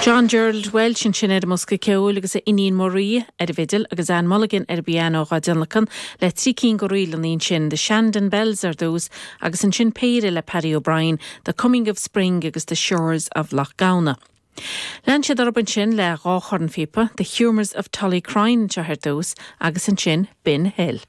John Gerald Walsh ansin ar an mbosca ceoil agus a iníon Marie ar an bhfidil agus Anne Mulligan ar an bpianó dhá dtionlacan le trí cinn de ríleanna ansin, The Shandon Bells ar dtús agus ansin péire le Paddy O'Brien, The Coming of Spring agus The Shores of Lough Gowna. Lean siad orthu ansin le dhá chornphíopa, The Humours of Tullycrine anseo ar dtús agus ansin Bin Hill.